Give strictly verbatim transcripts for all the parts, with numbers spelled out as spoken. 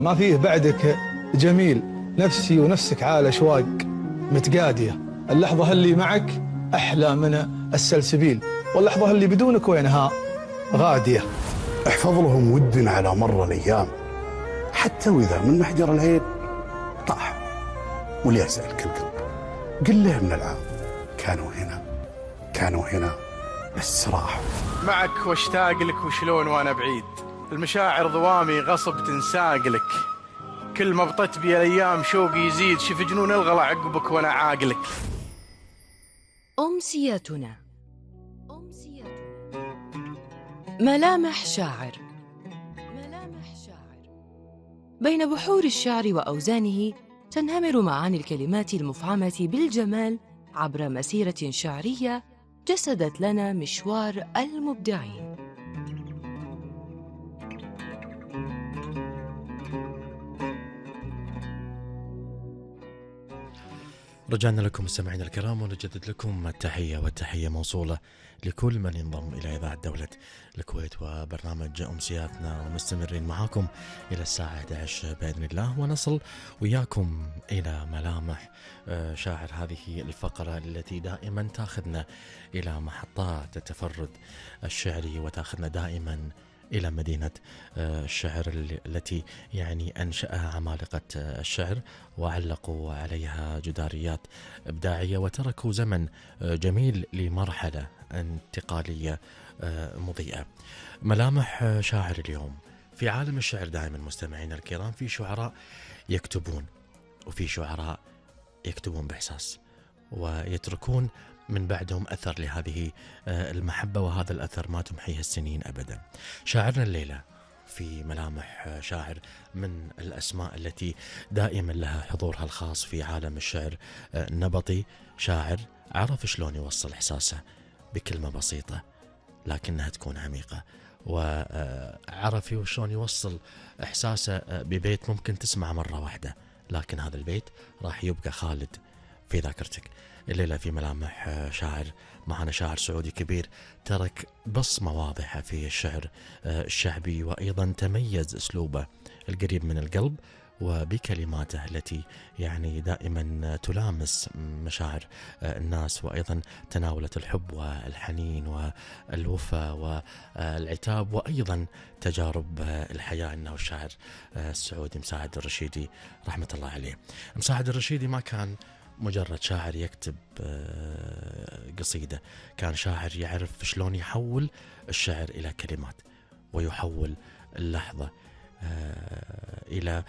ما فيه بعدك جميل، نفسي ونفسك عال أشواق متقادية. اللحظة اللي معك أحلى من السلسبيل، واللحظة اللي بدونك وينها غادية. احفظ لهم ود على مر الأيام، حتى وإذا من محجر العين طاح وليسألك القلب. قل له من العام كانوا هنا كانوا هنا بس راحوا. معك واشتاق لك وشلون وانا بعيد، المشاعر ضوامي غصب تنساق لك. كل ما بطت بي الايام شوقي يزيد، شف جنون الغلا عقبك وانا عاقلك. أمسيتنا ملامح شاعر. ملامح شاعر. بين بحور الشعر وأوزانه تنهمر معاني الكلمات المفعمة بالجمال عبر مسيرة شعرية جسدت لنا مشوار المبدعين. رجعنا لكم مستمعينا الكرام ونجدد لكم التحية، والتحية موصولة لكل من ينضم إلى إذاعة دولة الكويت وبرنامج أمسياتنا، ومستمرين معاكم إلى الساعة إحدى عشر بإذن الله، ونصل وياكم إلى ملامح شاعر، هذه الفقرة التي دائما تأخذنا إلى محطات التفرد الشعري وتأخذنا دائما إلى مدينة الشعر التي يعني أنشأها عمالقة الشعر وعلقوا عليها جداريات إبداعية وتركوا زمن جميل لمرحلة انتقالية مضيئة. ملامح شاعر اليوم في عالم الشعر دائما مستمعين الكرام، في شعراء يكتبون وفي شعراء يكتبون بإحساس ويتركون من بعدهم أثر لهذه المحبة، وهذا الأثر ما تمحيه السنين أبدا. شاعرنا الليلة في ملامح شاعر من الأسماء التي دائما لها حضورها الخاص في عالم الشعر، نبطي، شاعر عرف شلون يوصل إحساسه بكلمة بسيطة لكنها تكون عميقة، وعرف شلون يوصل إحساسه ببيت ممكن تسمع مرة واحدة لكن هذا البيت راح يبقى خالد في ذاكرتك. الليلة في ملامح شاعر معنا شاعر سعودي كبير ترك بصمة واضحة في الشعر الشعبي، وأيضا تميز أسلوبه القريب من القلب وبكلماته التي يعني دائما تلامس مشاعر الناس، وأيضا تناولت الحب والحنين والوفاء والعتاب وأيضا تجارب الحياة. إنه الشاعر السعودي مساعد الرشيدي رحمة الله عليه. مساعد الرشيدي ما كان مجرد شاعر يكتب قصيدة، كان شاعر يعرف شلون يحول الشعر إلى كلمات ويحول اللحظة إلى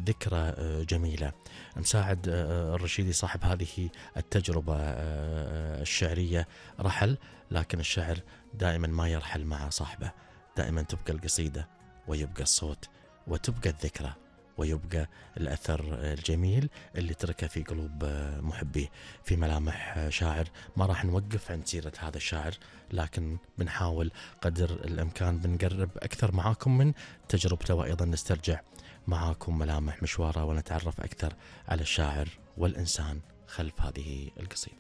ذكرى جميلة. مساعد الرشيدي صاحب هذه التجربة الشعرية رحل، لكن الشعر دائما ما يرحل مع صاحبه، دائما تبقى القصيدة ويبقى الصوت وتبقى الذكرى ويبقى الأثر الجميل اللي تركه في قلوب محبيه. في ملامح شاعر ما راح نوقف عند سيرة هذا الشاعر، لكن بنحاول قدر الإمكان بنقرب أكثر معاكم من تجربته، وأيضا نسترجع معاكم ملامح مشواره ونتعرف أكثر على الشاعر والإنسان خلف هذه القصيدة.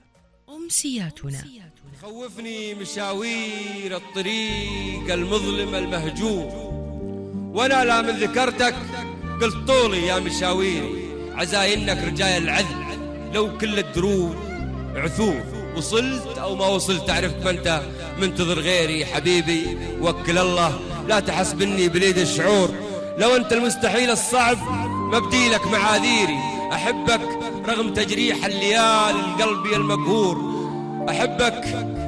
أمسياتنا. خوفني مشاوير الطريق المظلم المهجور، وأنا لا من ذكرتك قلت طولي يا مشاويري، عزاي إنك رجاي العذل لو كل الدروب عثور، وصلت أو ما وصلت عرفت ما أنت منتظر غيري حبيبي، وكل الله لا تحسبني بليد الشعور، لو أنت المستحيل الصعب مبدي لك معاذيري، أحبك رغم تجريح الليالي القلبي المقهور، أحبك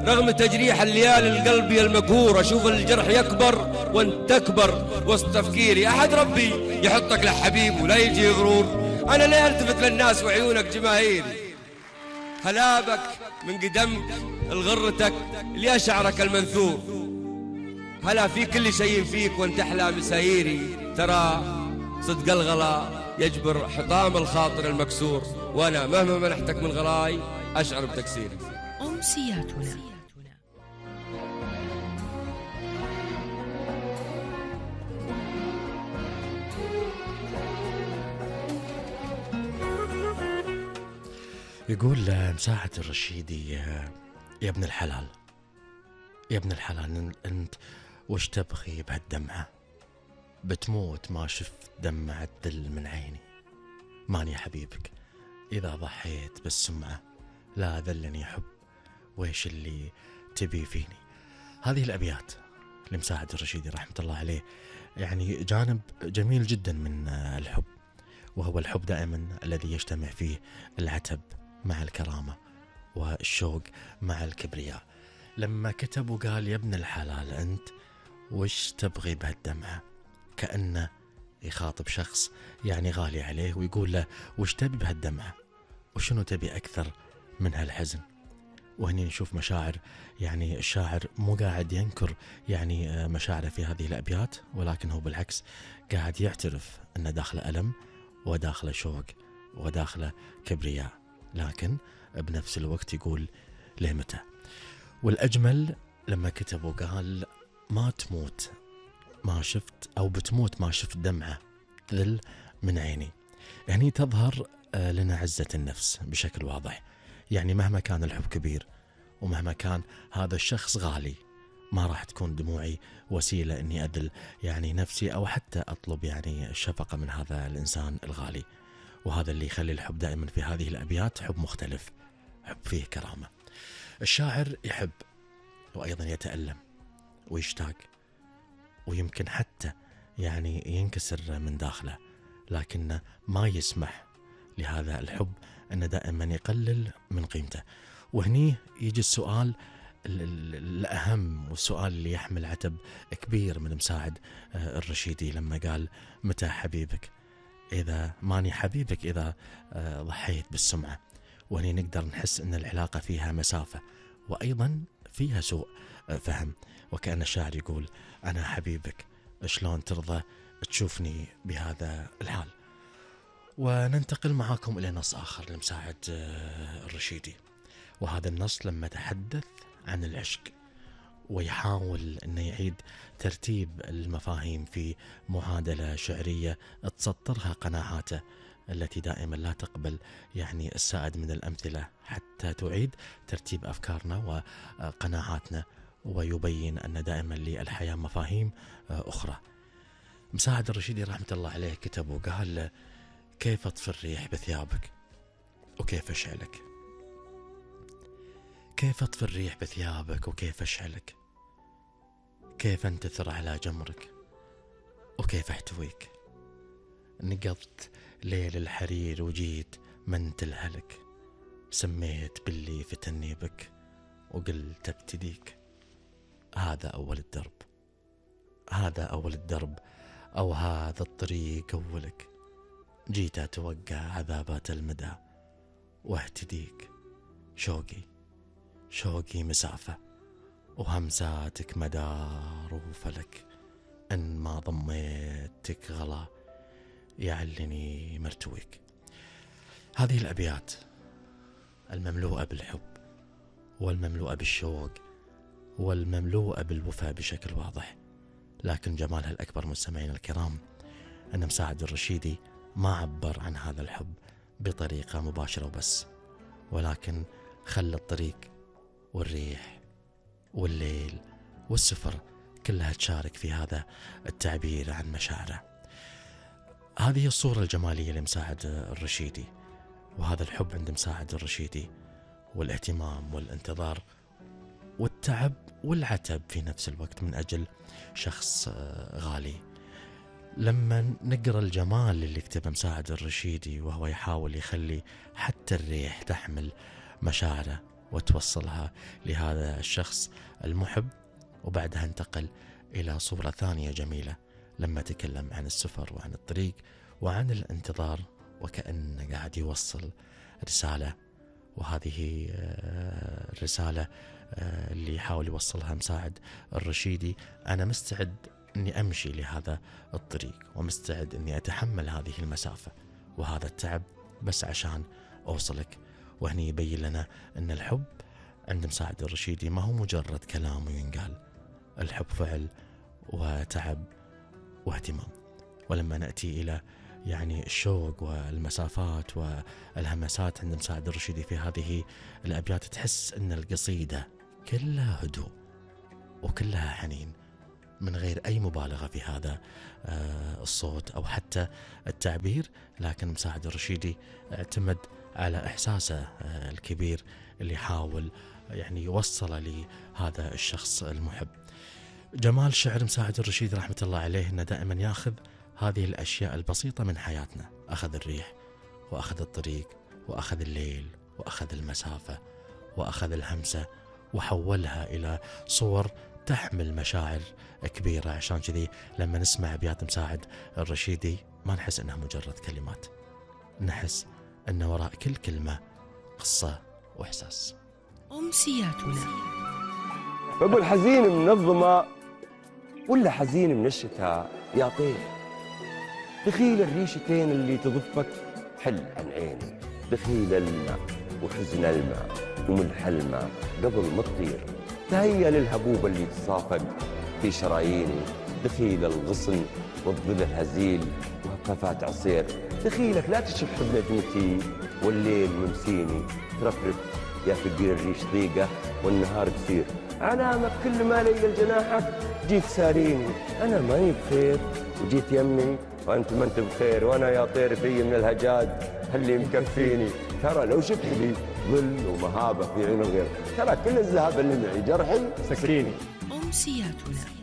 رغم تجريح الليالي القلبي المقهور، أشوف الجرح يكبر وانت تكبر وسط تفكيري، أحد ربي يحطك لحبيب ولا يجي غرور، أنا ليه التفت للناس وعيونك جماهيري، هلابك من قدمك الغرتك اللي شعرك المنثور، هلا في كل شيء فيك وانت أحلى مساييري، ترى صدق الغلا يجبر حطام الخاطر المكسور، وأنا مهما منحتك من غلاي أشعر بتكسيري. أمسياتنا. يقول مساعد الرشيدي يا ابن الحلال، يا ابن الحلال أنت وش تبغي بهالدمعة؟ بتموت ما شفت دمعة ذل من عيني، ماني حبيبك إذا ضحيت بالسمعة، لا ذلني حب ويش اللي تبي فيني. هذه الأبيات لمساعد الرشيدي رحمة الله عليه، يعني جانب جميل جدا من الحب، وهو الحب دائما الذي يجتمع فيه العتب مع الكرامة والشوق مع الكبرياء. لما كتب وقال يا ابن الحلال أنت وش تبغي بهالدمعة، كأنه يخاطب شخص يعني غالي عليه ويقول له وش تبي بهالدمعة، وشنو تبي أكثر من هالحزن. وهني نشوف مشاعر، يعني الشاعر مو قاعد ينكر يعني مشاعره في هذه الأبيات، ولكن هو بالعكس قاعد يعترف أن داخله ألم وداخله شوق وداخله كبرياء، لكن بنفس الوقت يقول ليه متى. والأجمل لما كتب وقال ما تموت ما شفت، أو بتموت ما شفت دمعة تذل من عيني. هني تظهر لنا عزة النفس بشكل واضح، يعني مهما كان الحب كبير ومهما كان هذا الشخص غالي، ما راح تكون دموعي وسيلة أني أذل يعني نفسي أو حتى أطلب يعني الشفقة من هذا الإنسان الغالي. وهذا اللي يخلي الحب دائما في هذه الأبيات حب مختلف، حب فيه كرامة. الشاعر يحب وأيضا يتألم ويشتاق، ويمكن حتى يعني ينكسر من داخله، لكنه ما يسمح لهذا الحب أنه دائما يقلل من قيمته. وهني يجي السؤال الأهم، والسؤال اللي يحمل عتب كبير من مساعد الرشيدي لما قال متى حبيبك إذا ماني حبيبك إذا ضحيت بالسمعة. وهني نقدر نحس أن العلاقة فيها مسافة وأيضا فيها سوء فهم، وكأن الشاعر يقول أنا حبيبك شلون ترضى تشوفني بهذا الحال. وننتقل معاكم إلى نص آخر لمساعد الرشيدي، وهذا النص لما تحدث عن العشق ويحاول أنه يعيد ترتيب المفاهيم في معادلة شعرية تسطرها قناعاته التي دائما لا تقبل يعني السائد من الأمثلة، حتى تعيد ترتيب أفكارنا وقناعاتنا ويبين أن دائما للحياة مفاهيم أخرى. مساعد الرشيدي رحمة الله عليه كتب وقال كيف أطفي الريح بثيابك وكيف أشعلك، كيف أطفي الريح بثيابك وكيف أشعلك، كيف أنتثر على جمرك وكيف أحتويك. نقضت ليل الحرير وجيت منت الهلك، سميت باللي فتني بك وقلت ابتديك. هذا أول الدرب، هذا أول الدرب أو هذا الطريق أولك، جيت أتوقع عذابات المدى واهتديك. شوقي شوقي مسافة وهمساتك مدار وفلك، إن ما ضميتك غلا يعلني مرتويك. هذه الأبيات المملوءة بالحب والمملوءة بالشوق والمملوءة بالوفاء بشكل واضح، لكن جمالها الأكبر مستمعين الكرام أن مساعد الرشيدي ما عبر عن هذا الحب بطريقة مباشرة وبس، ولكن خلى الطريق والريح والليل والسفر كلها تشارك في هذا التعبير عن مشاعره. هذه الصورة الجمالية لمساعد الرشيدي، وهذا الحب عند مساعد الرشيدي، والاهتمام والانتظار والتعب والعتب في نفس الوقت من أجل شخص غالي. لما نقرأ الجمال اللي كتبه مساعد الرشيدي وهو يحاول يخلي حتى الريح تحمل مشاعره وتوصلها لهذا الشخص المحب، وبعدها انتقل إلى صورة ثانية جميلة لما تكلم عن السفر وعن الطريق وعن الانتظار، وكأنه قاعد يوصل رسالة. وهذه الرسالة اللي يحاول يوصلها مساعد الرشيدي، أنا مستعد أني أمشي لهذا الطريق ومستعد أني أتحمل هذه المسافة وهذا التعب بس عشان أوصلك. وهني يبين لنا أن الحب عند مساعد الرشيدي ما هو مجرد كلام وينقال، الحب فعل وتعب واهتمام. ولما نأتي إلى يعني الشوق والمسافات والهمسات عند مساعد الرشيدي في هذه الأبيات، تحس أن القصيدة كلها هدوء وكلها حنين، من غير أي مبالغة في هذا الصوت أو حتى التعبير، لكن مساعد الرشيدي اعتمد على إحساسه الكبير اللي حاول يعني يوصله لهذا الشخص المحب. جمال شعر مساعد الرشيدي رحمة الله عليه أنه دائما ياخذ هذه الأشياء البسيطة من حياتنا، أخذ الريح وأخذ الطريق وأخذ الليل وأخذ المسافة وأخذ الهمسة وحولها إلى صور تحمل مشاعر كبيرة. عشان كذي لما نسمع أبيات مساعد الرشيدي ما نحس أنها مجرد كلمات، نحس أن وراء كل كلمة قصة وإحساس. أمسياتنا. أبو الحزين من الظما ولا حزين من الشتاء يا طير، دخيل الريشتين اللي تضفك حل عن عيني، دخيل الماء وحزن الماء وملح الماء قبل ما تطير، تهيأ للهبوب اللي تصافق في شراييني، دخيل الغصن والظل الهزيل وهفافات عصير، دخيلك لا تشح بنجمتي والليل ممسيني، ترفرف يا فقير الريش ضيقة والنهار قصير، علامك كل ما لي الجناحك جيت ساريني، أنا ماني بخير وجيت يمي وأنت ما أنت بخير، وأنا يا طير في من الهجاج اللي مكفيني، ترى لو شفت لي ظل ومهابة في عين الغير، ترى كل الذهب اللي معي جرحي سكيني. أمسياتنا.